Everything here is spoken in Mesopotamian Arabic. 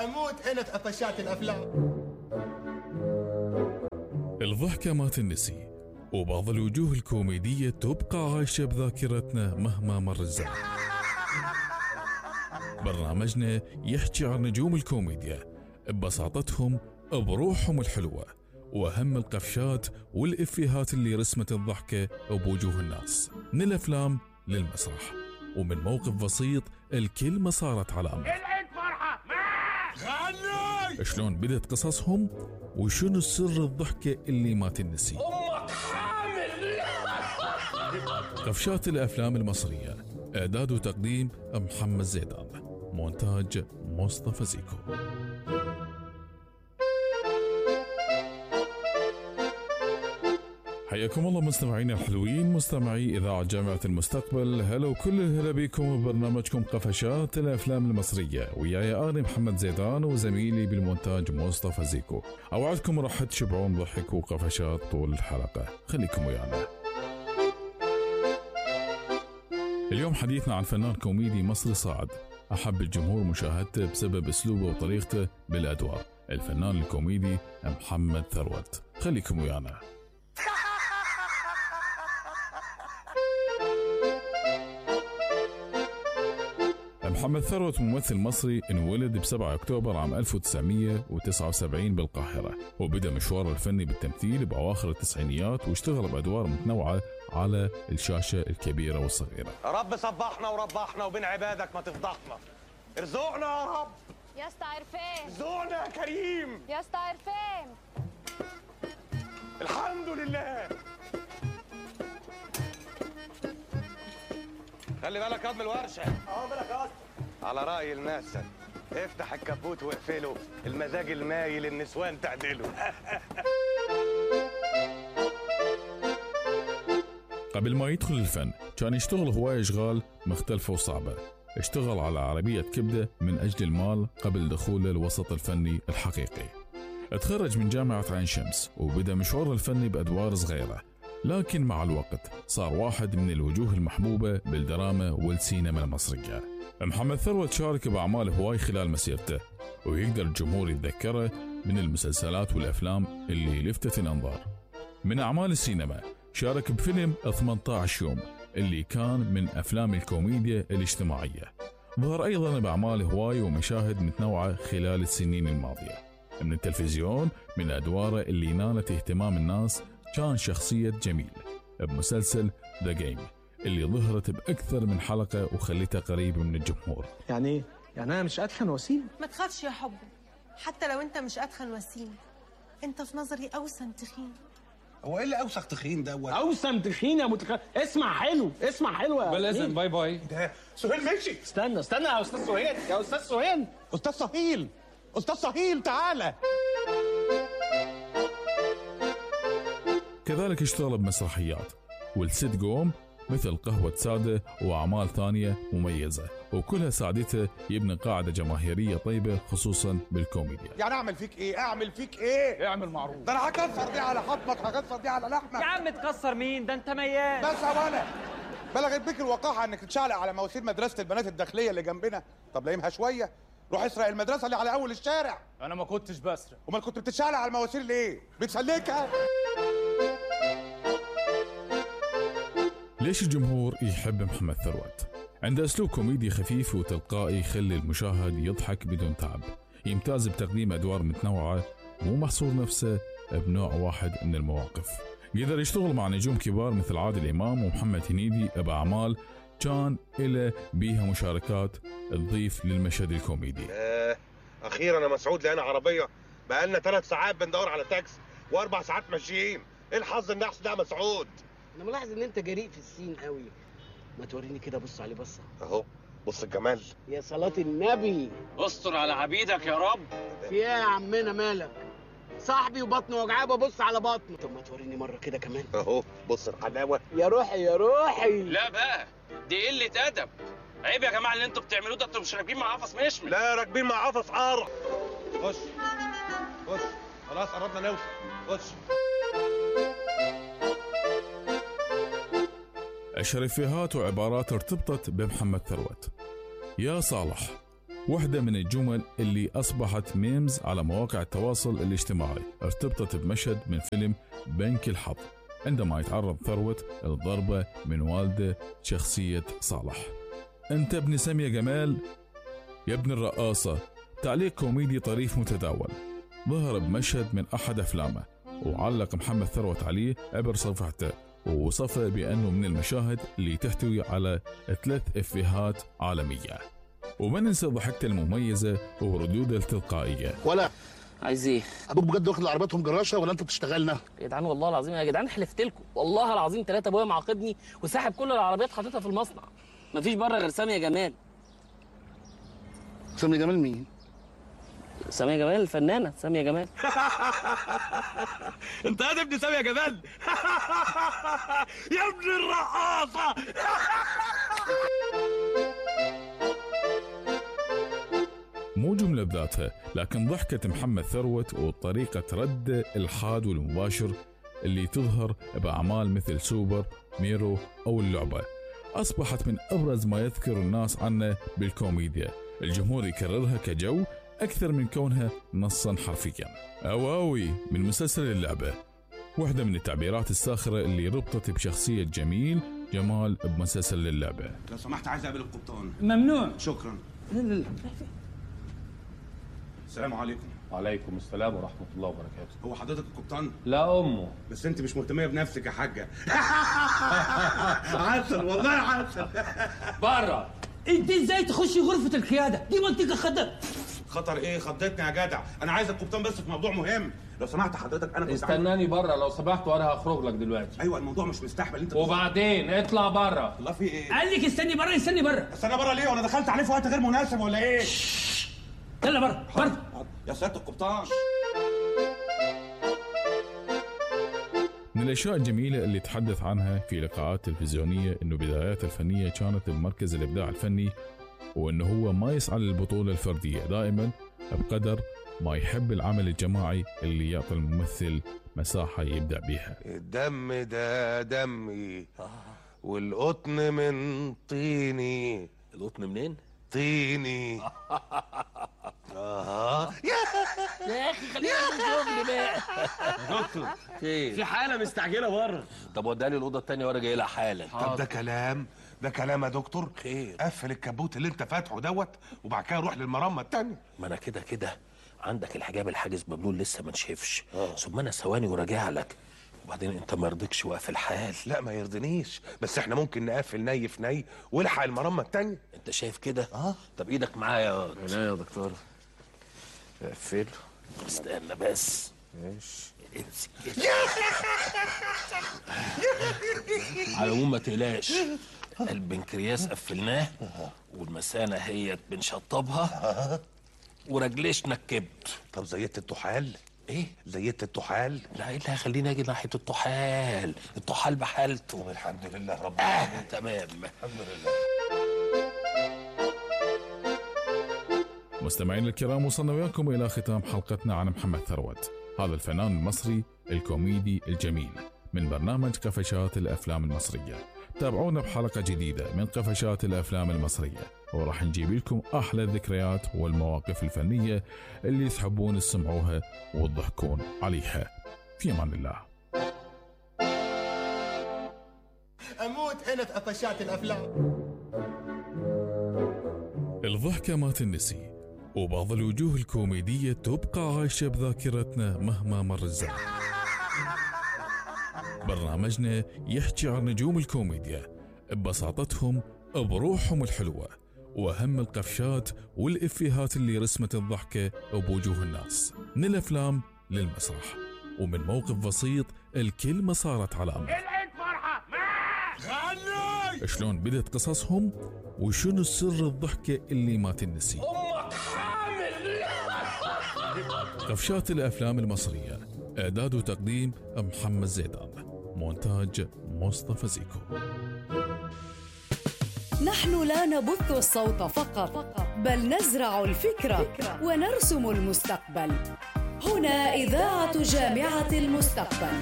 اموت انا في قفشات الافلام. الضحكة ما تنسي، وبعض الوجوه الكوميدية تبقى عايشة بذاكرتنا مهما مر الزمن. برنامجنا يحكي عن نجوم الكوميديا ببساطتهم، بروحهم الحلوة، وأهم القفشات والإفيهات اللي رسمت الضحكة بوجوه الناس، من الأفلام للمسرح، ومن موقف بسيط الكل ما صارت علامة. العيد فرحة شلون بدت قصصهم، وشنو سر الضحكة اللي ما تنسي. أمك حامل. قفشات الأفلام المصرية، إعداد وتقديم محمد زيدان، مونتاج مصطفى زيكو. حياكم الله مستمعين الحلوين، مستمعي إذاعة جامعة المستقبل. هلا وكل الهلا بكم ببرنامجكم قفشات الأفلام المصرية، وياي أنا محمد زيدان وزميلي بالمونتاج مصطفى زيكو. أوعدكم راح تشبعون ضحك وقفشات طول الحلقة، خليكم ويانا. اليوم حديثنا عن فنان كوميدي مصري صاعد، أحب الجمهور مشاهدته بسبب أسلوبه وطريقته بالأدوار، الفنان الكوميدي محمد ثروت. خليكم ويانا. محمد ثروت ممثل مصري انولد ب7 أكتوبر عام 1979 بالقاهرة، وبدأ مشواره الفني بالتمثيل بأواخر التسعينيات، واشتغل بأدوار متنوعة على الشاشة الكبيرة والصغيرة. رب صبحنا وربحنا وبين عبادك ما تفضحنا، ارزقنا يا رب. يا اسطى عرفان، ارزقنا يا كريم. يا اسطى عرفان. الحمد لله. خلي بالك يا من الورشة. بالك يا اسطى. على رأي الناس، افتح الكبوت واقفله، المزاج المايل النسوان تعدله. قبل ما يدخل الفن كان يشتغل هواية أشغال مختلفة وصعبة. اشتغل على عربية كبدة من أجل المال قبل دخوله الوسط الفني الحقيقي. اتخرج من جامعة عين شمس وبدأ مشواره الفني بأدوار صغيرة، لكن مع الوقت صار واحد من الوجوه المحبوبة بالدراما والسينما المصرية. محمد ثروت شارك بأعمال هواي خلال مسيرته، ويقدر الجمهور يتذكره من المسلسلات والأفلام اللي لفتت الأنظار. من أعمال السينما شارك بفيلم 18 يوم اللي كان من أفلام الكوميديا الاجتماعية. ظهر أيضا بأعمال هواي ومشاهد متنوعة خلال السنين الماضية. من التلفزيون، من أدواره اللي نالت اهتمام الناس كان شخصية جميل بمسلسل ذا جيم اللي ظهرت بأكثر من حلقة وخليتها قريبة من الجمهور. يعني أنا مش أدخن وسيم؟ ما تخافش يا حبي، حتى لو أنت مش أدخن وسيم أنت في نظري أوسم تخين. هو إيه اللي أوسخ تخين ده؟ أوسم تخين يا اسمع حلو، اسمع حلو يا لازم. باي باي. ده سهيل ماشي. استنى يا أستاذ سهيل، يا أستاذ سهيل. أستاذ سهيل، أستاذ سهيل تعالى. كذلك اشتغل بمسرحيات والسيت جوم مثل قهوة سادة وأعمال ثانية مميزة، وكلها ساعدته يبني قاعدة جماهيرية طيبة خصوصا بالكوميديا. يعني أعمل فيك إيه؟ أعمل فيك إيه؟ اعمل معروف. ده أنا هكسر دي على حطمك، هكسر دي على لحمك. يا عم تكسر مين؟ ده أنت ميال. بس يا ولا بلغت بيك الوقاحة إنك تتشعلق على مواسير مدرسة البنات الداخلية اللي جنبنا. طب لايمها شوية، روح اسرق المدرسة اللي على أول الشارع. أنا ما كنتش بسرق. أمال كنت بتتشعلق على المواسير ليه؟ بتسلكها؟ ليش الجمهور يحب محمد ثروت؟ عنده أسلوب كوميدي خفيف وتلقائي يخلي المشاهد يضحك بدون تعب. يمتاز بتقديم أدوار متنوعة، مو محصور نفسه بنوع واحد من المواقف. قدر يشتغل مع نجوم كبار مثل عادل إمام ومحمد هنيدي بأعمال كان إلى بيها مشاركات تضيف للمشهد الكوميدي. أخيرا يا مسعود لقينا عربية، بقالنا 3 ساعات بندور على تاكسي و4 ساعات ماشيين. إيه الحظ النحس ده يا مسعود؟ انا ملاحظ ان انت جريء في السين قوي. ما توريني كده، بص عليه بصه اهو، بص الجمال. يا صلاة النبي. استر على عبيدك يا رب. في ايه يا عمنا مالك؟ صاحبي وبطنه وجعاه ببص على بطنه. طب ما توريني مره كده كمان. اهو بص الحلاوه. يا روحي يا روحي. لا بقى، دي قله ادب. عيب يا جماعه اللي انتوا بتعملوه ده. انتوا مش راكبين مع قفص مشمل. لا راكبين مع قفص قار. خش خلاص قربنا نوصل. خش. أشهر إفيهات وعبارات ارتبطت بمحمد ثروت: يا صالح واحدة من الجمل اللي أصبحت ميمز على مواقع التواصل الاجتماعي ارتبطت بمشهد من فيلم بنك الحظ عندما يتعرض ثروت الضربة من والده شخصية صالح. أنت ابن سامية جمال يا ابن الرقاصة. تعليق كوميدي طريف متداول ظهر بمشهد من أحد أفلامه، وعلق محمد ثروت عليه عبر صفحته ووصفه بأنه من المشاهد اللي تحتوي على 3 إفيهات عالمية. وما ننسى ضحكته المميزة وردوده التلقائية. ولا عايز ايه؟ ابوك بجد واخد عربيتهم جراشه ولا انت بتشتغلنا؟ يا جدعان والله العظيم يا جدعان حلفت لكم والله العظيم 3 ابويا معاقبني وساحب كل العربيات حاططها في المصنع. مفيش بره غير سامية جمال. سامية جمال مين؟ سامية جمال الفنانة سامية جمال. انت يا ابن سامية جمال. يا ابن الرقاصة. مو جملة بذاتها، لكن ضحكة محمد ثروت وطريقة رده الحاد والمباشر اللي تظهر بأعمال مثل سوبر ميرو أو اللعبة أصبحت من أبرز ما يذكر الناس عنه بالكوميديا. الجمهور يكررها كجو أكثر من كونها نصا حرفيا. أواوي من مسلسل اللعبة، واحدة من التعبيرات الساخرة اللي ربطت بشخصية جمال بمسلسل اللعبة. لو سمحت عايز اقابل القبطان. ممنوع. شكرا. السلام عليكم. وعليكم السلام ورحمة الله وبركاته. هو حضرتك القبطان؟ لا أمه. بس أنت مش مهتمية بنفسك يا حاجة. عسل والله عسل. بره. أنت إزاي تخشي غرفة القيادة؟ دي منطقة خطر. خطر إيه؟ خضتني يا جدع. أنا عايز القبطان بس في موضوع مهم. لو سمحت حضرتك أنا كنت استناني بره لو سمحت وأنا هخرج لك دلوقتي. أيوه الموضوع مش مستحمل أنت. وبعدين اطلع بره. الله في إيه؟ قال لك استني بره. استني بره. استنى بره ليه؟ وأنا دخلت عليه في وقت غير مناسب ولا إيه؟ يلا بره بره. يا سيادة القبطان. من الأشياء الجميلة اللي تحدث عنها في لقاءات تلفزيونية إنه بداياته الفنية كانت بمركز الإبداع الفني، وإنه هو ما يسعى للبطولة الفردية، دائما بقدر ما يحب العمل الجماعي اللي يعطي الممثل مساحة يبدع بيها. الدم ده دمي والقطن من طيني. القطن منين؟ طيني. يا اخي خلينا نشوف بقى. دكتور في حالة مستعجلة بره. طب وداني الأوضة التانية وأنا جاي لها حالا. طب ده كلام يا دكتور. خير. قفل الكبوت اللي انت فاتحه دوت وبعد كده روح للمرمى التانية. ما أنا كده عندك الحجاب الحاجز مبلول لسه ما نشفش. ثم أنا ثواني وراجع لك. وبعدين انت ما يرضيكش واقف الحال. لا ما يرضينيش، بس احنا ممكن نقفل ني في ني والحق المرمى التانية. انت شايف كده؟ طب ايدك معايا يا دكتور. اقفل. استنى بس. ماشي. امسك كده. على العموم ما تقلقش، البنكرياس قفلناه والمثانه هي بنشطبها ورجليشنا الكبد. طب زيت الطحال؟ ايه؟ زيت الطحال؟ لا ايه اللي هيخليني اجي ناحيه الطحال؟ الطحال بحالته. طب الحمد لله رب العالمين. تمام الحمد لله. مستمعين الكرام، وصلنا وياكم إلى ختام حلقتنا عن محمد ثروت، هذا الفنان المصري الكوميدي الجميل من برنامج قفشات الأفلام المصرية. تابعونا بحلقة جديدة من قفشات الأفلام المصرية، وراح نجيب لكم أحلى الذكريات والمواقف الفنية اللي تحبون تسمعوها وتضحكون عليها. في أمان الله. أموت هنا في قفشات الأفلام. الضحكة ما تنسي، وبعض الوجوه الكوميدية تبقى عايشة بذاكرتنا مهما مر الزمن. برنامجنا يحكي عن نجوم الكوميديا ببساطتهم، بروحهم الحلوة، وأهم القفشات والإفيهات اللي رسمت الضحكة بوجوه الناس، من الأفلام للمسرح، ومن موقف بسيط الكل ما صارت علامة. العيد فرحة غني. شلون بدت قصصهم وشنو سر الضحكة اللي ما تنسي. أمك حامل. قفشات الأفلام المصرية، إعداد وتقديم محمد زيدان، مونتاج مصطفى زيكو. نحن لا نبث الصوت فقط، بل نزرع الفكرة ونرسم المستقبل. هنا إذاعة جامعة المستقبل.